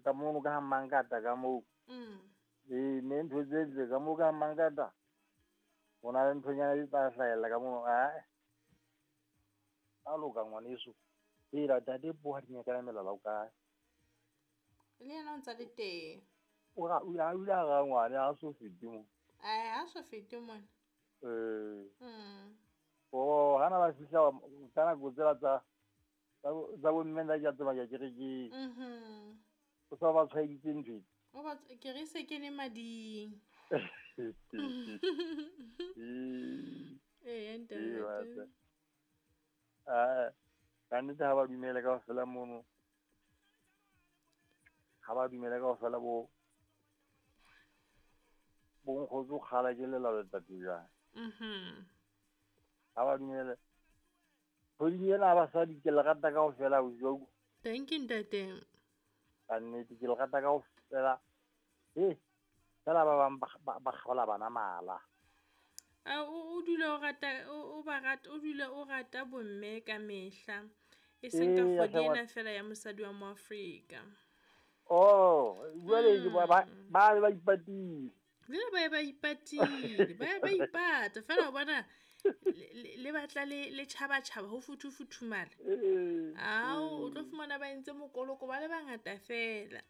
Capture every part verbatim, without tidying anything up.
Ka mono ka Mangata ka moo. Mm. Ee, mme ntho tse ntle ka moo ka Mangata. Ho na le nthonyana di tla hlahella ka mono. Ae. A loka ngwaneso. Hela ntate po ha di nyakana melala o kae? Le yena o ntsa le teng. O ra o a ile a ra ngwane ha so fete mo. Ae, ha so fete mona. Eh. Mm. Oh, hana ba fihla ka nako tsela tsa tsa bo- tsa bo mme nna ke a tsamaya kerekeng. Mhm. O sa ba tshwaeditse ntho e. O ba ke re se kene mading. Ee. Ee, Ee, ntate. wa Ah, ka nnete ha ba dumele kaofela mono. Ha ba dumele kaofela bo bo nkgotso kgala ke lelalo letsatsi jwang. Mhm. Ha ba dumele. Kgweding ena ya basadi ke le rata kaofela ausi wa utlwa. Thank you ntate. Ka nnete ke le rata kaofela. He, fela ba bang ba ba ba kgaola bana mala. A o o dula o rata o o ba rata o dula o rata bomme ka mehla. E seng ka Eya kgwedi hle ena ngwana. fela ya mosadi wa mo Afrika. Oh, jwale ke ba ba Mm. ba be ba ipatile. Jwale ba ye ba ipatile, ba ye ba ipata fela o bona le le le batla le le tjhaba-tjhaba ho futhu-futhumala. Ee, Ao, o tlo ee. fumana ba entse mokoloko ba le bangata fela.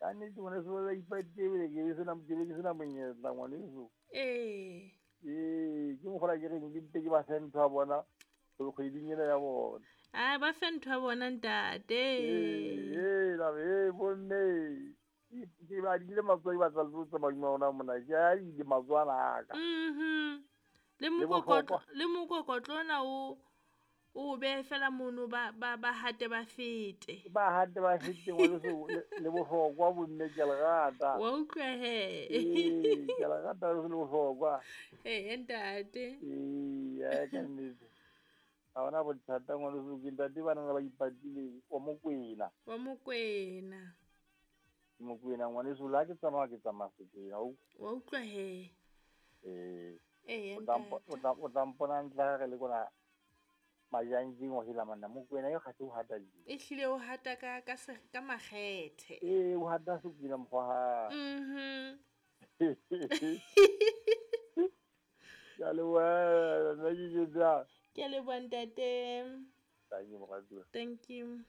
Ka nnete ngwaneso ba ipatile ebile ke be sena ke be ke sena monyetla ngwaneso. Ee. Ee, ke mokgwa ke reng ke mpe ke ba fe ntho ya bona kgweding ena ya bona. Ah, ba fe ntho ya bona ntate. Ee, ee, la re, ee, bomme. Ke ke badile matsoho ke batla le tlo tsamaya hodima ona mona. Ke a ile matsoho ana a ka. Mhm. Le Le mokokotlo bohlokwa. le mokokotlo ona o o behe fela mono ba ba ba hate ba fete. Ba hate ba fete ngwaneso le le bohlokwa bomme ke a le rata. Wa utlwa he. Ee, ke a le rata le bohlokwa. Ee, ntate. Ee, ae ka nnete. Ha hona bothata ngwaneso ke ntate bana ba ipatile wa Mokwena. Wa Mokwena. Mokwena ngwaneso le ha ke tsamaya ke tsamaya Sekwena o. Wa utlwa he. Ee. Ee, O tla mpo- ntate. o tla o tla mpona ntle ha re le kona Majanjing wa hela manna Mokwena eo kgathe o hata jeng. Ehlile o hata ka ka se ka makgethe. Ee, o hata Sekwena mokgwa ha. Mhm. Ke a leboha nna ke jwetsa. Ke a leboha ntate. Thank you moratuwa. Thank you.